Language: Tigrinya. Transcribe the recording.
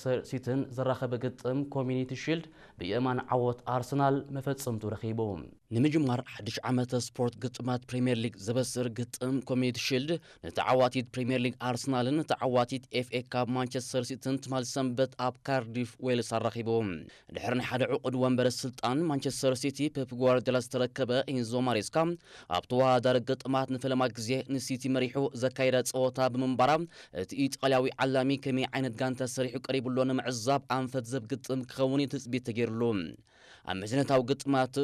ማንቸስተር ሲቲን ዘራኸበ ግጥም ኮሚኒቲ ሺልድ ብየማን ዓወት ኣርሰናል መፈጸምቱ ረኺቡ። ንምጅማር ሓድሽ ዓመተ ስፖርት ግጥማት ፕሪምየር ሊግ ዘበስር ግጥም ኮሚኒቲ ሺልድ ንተዓዋቲት ፕሪምየር ሊግ ኣርሰናልን ንተዓዋቲት ኤፍኤ ካፕ ማንቸስተር ሲቲን ትማል ሰንበት ኣብ ካርዲፍ ዌልስ ኣራኺቡ። ድሕሪ ናይ ሓደ ዕቑድ ወንበር ስልጣን ማንቸስተር ሲቲ ፔፕ ጓርዲዮላ ዝተረከበ ኢንዞ ማሬስካ ኣብ ተወዳዳሪ ግጥማት ንፈለማ ግዜ ንሲቲ መሪሑ ዘካየደ ጸወታ ብምንባራ እቲ ኢጣልያዊ ዓላሚ ከመይ ዓይነት ጋንታ ሰሪሑ ቀሪቡ ኣሎ ንምዕዛብ ኣንፈት ዘብ ግጥም ክኸውን እዩ ትጽቢት ተገይሩሉ። ኣብ መዝነታዊ ግጥማት